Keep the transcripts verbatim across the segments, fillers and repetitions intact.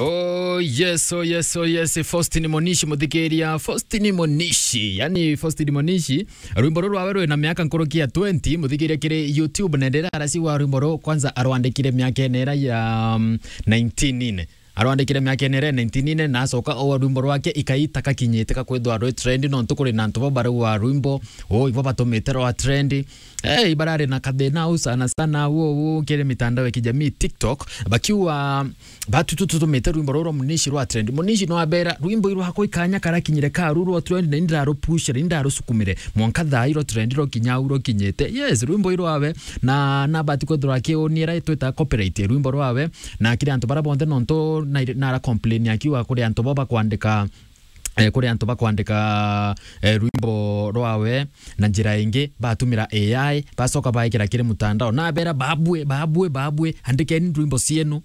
Oh yes, oh yes, oh yes, Faustin Monishi, muthikiria. Faustin Monishi, yani Faustin Monishi, rwimbo ruru rwawe rwina miaka nkuruki ya twenty, muthikiria, kiri YouTube, na ndira arasi wa rwimbo ruru kwanza arwandikire miaka ene ira ya, um, nineteen ine. Arwandikire miaka ene ira ya nineteen ine, na acoka o rwimbo rwake ikai itakakinyite ka kwithwa rwi trend, nontu kuri na antu bo barauga rwimbo, oh, ibo batumite rwa trend. Eh, ibarari na kathina au sana sana au, au kiri mitandao ya kijamii, TikTok, bakiuga, batu tu tutumite rwimbo ruru rwa Munishi rwa trend. Munishi no abera, rwimbo irwakwa ikanya karakinyire karu rwa trend, na indarupushire, indarusukumire. Mwanka thaa iro trend ro kinya au rukinyite. Yes, rwimbo irwawe, na, na bati kwithirwa akiuniira itwita copyright rwimbo rwawe, na kiri antu bara bonthe nontu na, na ara complain akiuga kuri antu bo bakwandika, eh, kuri antu bakwandika, eh, rwimbo rwawe na njira ingi, batumira A I, bacoka baikira kiri mutandao. Na abera, babue, babue, babue, andikeni rwimbo cienu.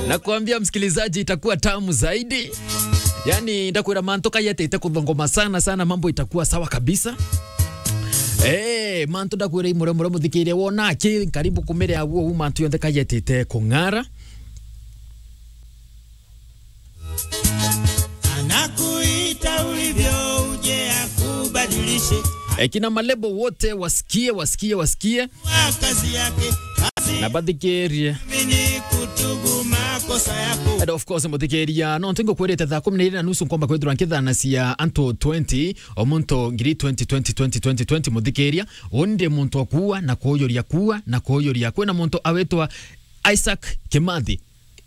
Nakwambia, msikilizaji, itakuwa tamu zaidi. Yani, ndakwira mantu kayetete kuthongoma sana sana, mambo itakuwa sawa kabisa. Eh, mantu ndakwira imure mure muthikiria wona aki karibu kumire aguo u mantu yonthe kayetete kung'ara. Anakuita ulivyo uje akubadilishe. Eh, kina malebo wote wasikie, wasikie, wasikie. Wa kazi yake, kazi na bathikirie. Amini kutubu makosa yako. And of course, muthikiria, no ntingo kwirite thaa kumi na iri na nusu nkomba kwithirwa nkithanacia antu twenty, o muntu ngiri twenty, twenty, twenty, twenty, twenty, muthikiria. Undi muntu akuua na kuujuria, kuua na kuujuria. Kwina muntu awitwa Isaac Kimathi,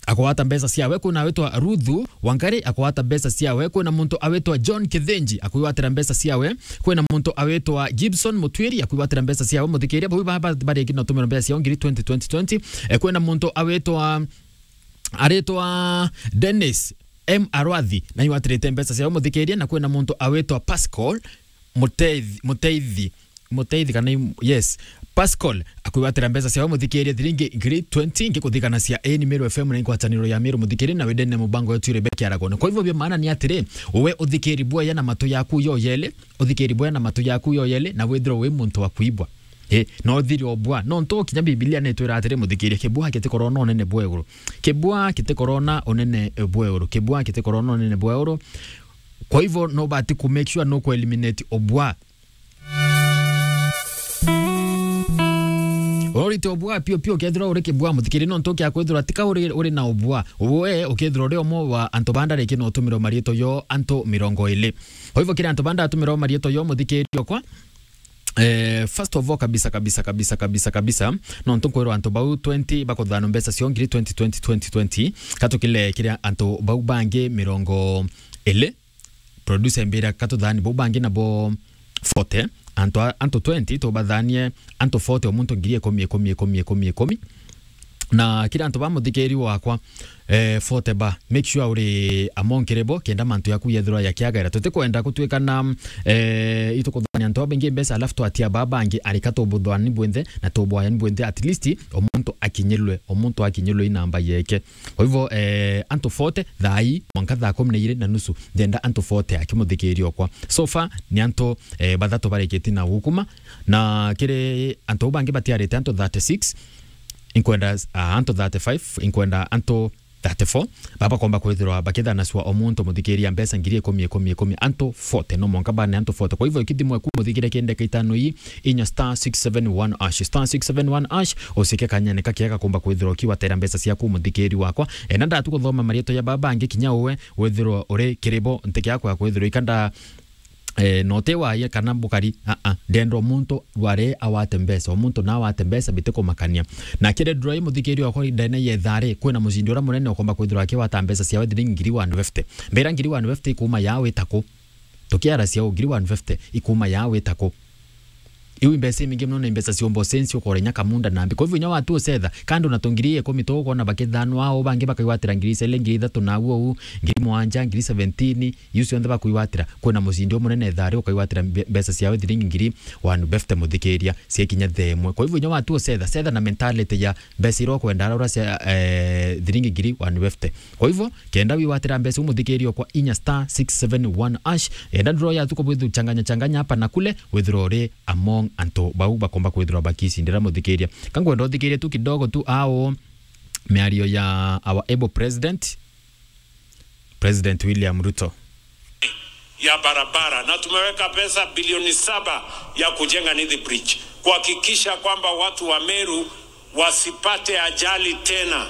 akwata mbeca ciawe. Kwina awitwa Ruthu Wangari, akwata mbeca ciawe. Kwina muntu awitwa John Kithinji, akwigwatira mbeca ciawe. Kwina muntu awitwa Gibson Mutwiri, akwigwatira mbeca ciawe. Muthikiria, bau ba, ba, bariki na utumira mbeca ciao ngiri twenty, twenty, twenty. Eh, kwina muntu awitwa, aritwa Dennis M Arwathi, na igwatirite mbeca ciawe, muthikiria. Na kwina muntu awitwa Pascal Muteithi, Muteithi, Muteithi kana im-, yes, Pascal, akwigwatira mbeca ciawe, muthikiria, thiringi ngiri twenty, ngikuthikanacia ii ni Meru F M na ingwataniro ya Meru, muthikiria, na wendene mubango wetu Rebecca Aragone. Kwa hivyo, bia maana ni atiri, uwe uthikiri bwega na matu yaku yoyeli, uthikiri bwega na matu yaku yoyeli, na withirwe wi muntu wa kuibwa. Eh, no uthiri obwa. No ntu kinya Biblia ni itwira atiri, muthikiria, kibwa gitikorona unene bwa iguru. Kibwa gitikorona unene bwa iguru. Kibwa gitikorona unene bwa iguru. Kwa hivyo, no bati ku make sure no ku eliminate obwa. Urorite obwa pio pio, ukethirwa uri kibwa, muthikiri, no ntu kia kwithirwa tika uri, uri na obwa. Uwe ukethirwa uri omwe wa antu ba ndariki no utumirwa marietwa yo antu mirongo iri. Kwa hivyo, kiri antu ba ndatumirwa marietwa yo, muthikiri okwa, eh, first of all, kabisa, kabisa, kabisa, kabisa, kabisa, no ntu nkwirwa antu bau twenty bakuthanwa mbeca cio ngiri twenty, twenty, twenty, twenty. Katukile kiri antu bau bangi mirongo iri. Producer, mbira katuthani bau bangi nabo forty, antu a, antu twenty, tubathanie antu forty, o muntu ngiri ikumi, ikumi, ikumi, ikumi, ikumi. Na kiri antu ba muthikiri wakwa, eh, forty ba, make sure uri among kiri bo, kenda mantu yaku yethirwa yakiagaira. Tutikwenda gutwika na, eh, itukuthania antu babaingi mbeca, alafu twatia ba bangi, arika tubuthani bwinthe, na tubwayani bwinthe, at least, o muntu akinyirwe, o muntu akinyirwe i namba yeke. Kwa hivyo, eh, antu forty, thaa ii, mwanka thaa kumi na iri na nusu, ndenda antu forty akimuthikiria okwa. So far, ni antu, eh, bathatu barikiti na gukuma, na kiri antu bau bangi batiarite antu thirty-six, inkwenda, ah, antu thirty-five, inkwenda antu thirty-four, baba komba kwithirwa bakithanacua o muntu muthikiria mbeca ngiri ikumi, ikumi, ikumi, antu forty, no mwanka bane antu forty. Kwa hivyo, ikithimwe ku muthikire kiri ndeka itano ii, inya star six seven one hash, star six seven one hash, ucike kanyene kakiega gakomba kwithirwa ukiwatera mbeca ciaku, muthikiri wakwa. Eh, na ndatu kuthoma marietwa ya baba bangi kinya uwe withirwa uri kiri bo, ntikiakwa kwithirwa ikanda, eh, note waye kana bukari, a, a, ndenda o muntu wari awate mbeca, o muntu na awate mbeca bitikumakania. Na kiri ndura i muthikiri wakwa ndene yethari, kwina mucindi ura munene ukomba kwithirwa akiwata mbeca ciawe thiringi ngiri one fifty. Mbira ngiri one fifty ikuma ya witaku. Tukiaracia uu, ngiri one fifty ikuma ya witaku. Iu i mbeca imingi mono, na i mbeca ciumba ucenci, ukora inya kamunda na mbi. Kwa hivyo, inya watu ucetha, kando na tu ngiri ikumi tu, ukona bakithanwa, au bangi bakaigwatira ngiri icere, ngiri ithatu, na au au, ngiri mwanja, ngiri seventeen, iu cionthe bakuigwatira. Kwina mucindi umunene thari, ukaigwatira mbe-, mbeca ciawe thiringi ngiri one fifty, muthikiria, cia kinya thaa imwe. Kwa hivyo, inya watu ucetha, cetha na mentality ya mbeca iria ukwenda ara cia, eh, thiringi ngiri one fifty. Kwa hivyo, kenda wigwatira mbeca u muthikiri okwa inya star six seven one hash, enda nduro yathu kubwithu changanya changanya hapa na kule, withirwa uri among antu bau bakomba kwithirwa bakicindira, muthikiria. Ka ngwenda uthikirie tu kidogo tu au miario ya our able president, President William Ruto. Ya barabara, na tumeweka pesa bilioni saba ya kujenga Nithi Bridge, kuhakikisha kwamba watu wa Meru wasipate ajali tena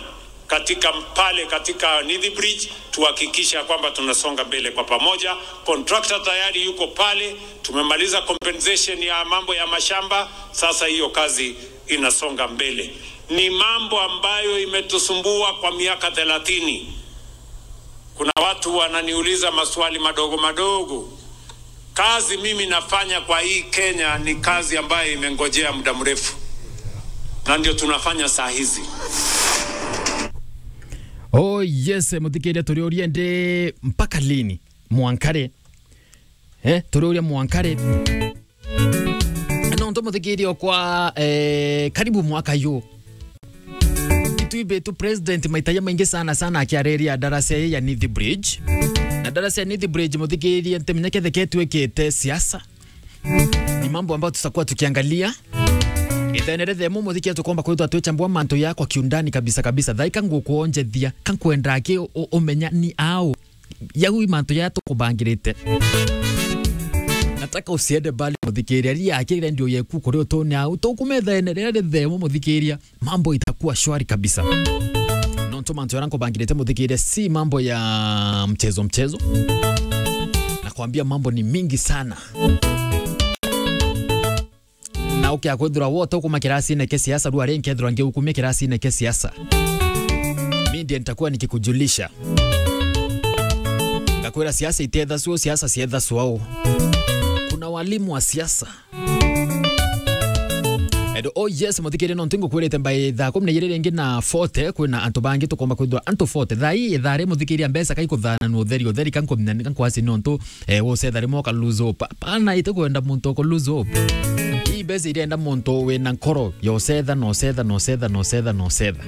katika pale, katika Nithi Bridge. Tuhakikisha kwamba tunasonga mbele kwa pamoja. Contractor tayari yuko pale, tumemaliza compensation ya mambo ya mashamba, sasa hiyo kazi inasonga mbele. Ni mambo ambayo imetusumbua kwa miaka thelathini. Kuna watu wananiuliza maswali madogo madogo. Kazi mimi nafanya kwa hii Kenya ni kazi ambayo imengojea muda mrefu, na ndio tunafanya saa hizi. Oh yes, muthikiria, turiuria ndi mpaka lini? Mwankare. Eh, turiuria mwankare. Nontu muthikiria okwa, eh, karibu mwaka yu. Itwi bitu president maita jamaingi sana sana akiariria darasa ya Nithi Bridge. Na darasa ya Nithi Bridge, muthikiria, ntimenya kethe ketwikite siasa. Ni mambo ambayo tutakuwa tukiangalia. Ithene rithemu, muthikiria, tukomba kwithwa twichambua mantu ya kwa kiundani kabisa kabisa. Thaika ngukuonjethia, ka nkwenda aki u-, u-, umenya ni au. Yau i mantu ya tukubangirite. Nataka usiende mbali, muthikiria. Ria aki redio yeku kuri utune au. Tukumethene rithemu, muthikiria. Mambo itakuwa shwari kabisa. Nontu mantu yara nkubangirite, muthikiria, si mambo ya mchezo mchezo. Nakwambia mambo ni mingi sana. Na ukia kwithirwa wote ukuma kirasine kia siasa, rua ringi kethirwa ngiukumia kirasine kia siasa. Mi ndiye nitakuwa nikikujulisha. Ngakwira siasa itethasua, siasa siethasua u. Kuna walimu wa siasa. And oh yes, muthikiria, nontu ngukwirite by thaa kumi na ijiri ringi na forty, kwina antu bangi tukomba kwithirwa antu forty. Thaa ii, ithaa ri, muthikiria, mbeca kaikuthananua utheri, utheri kankumenya, kankwasi nontu, eh, usetha rimwe uka lose hope. Pana, itikwenda muntu uku lose hope. Ii mbeca irenda muntu wina nkoro ya usetha, na usetha, na usetha, na usetha, na usetha.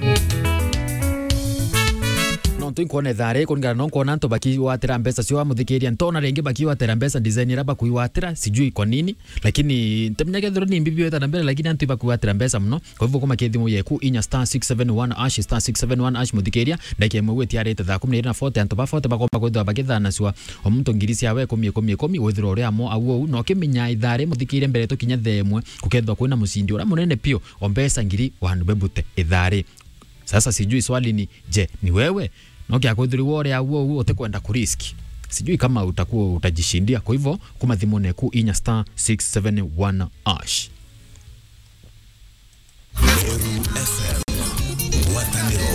Nontu inkwona ithaa ri, kuringana no nkwona antu bakiwatira mbeca cio, muthikiria, ntona ringi bakiwatira mbeca design ira bakuiwatira, sijui kwa nini. Lakini ntimenya kethirwa ni mbibi weta na mbere, lakini antu ibakwatira mbeca muno. Kwa hivyo, kuma kithimu yeku inya star six seven one hash, star six seven one hash, muthikiria, ndagika imwe gwitiarite thaa kumi na iri na forty, antu ba forty bakomba kwithirwa bakithanacua o muntu ngiri ciawe ikumi, ikumi, ikumi, withirwa uri amo au ou, na ukimenya ithaa ri, muthikiria, mbere tukinya thaa imwe, gukethirwa kwina mucindi uria munene piu, o mbeca ngiri one bebute ithaa ri. Sasa sijui swali ni, je, ni wewe? No kia kwithirwa uri au ou utikwenda kurisk. Sijui kama utakuwa utajishindia. Kwa hivyo, kuma thimune ku inya star six seven one hash.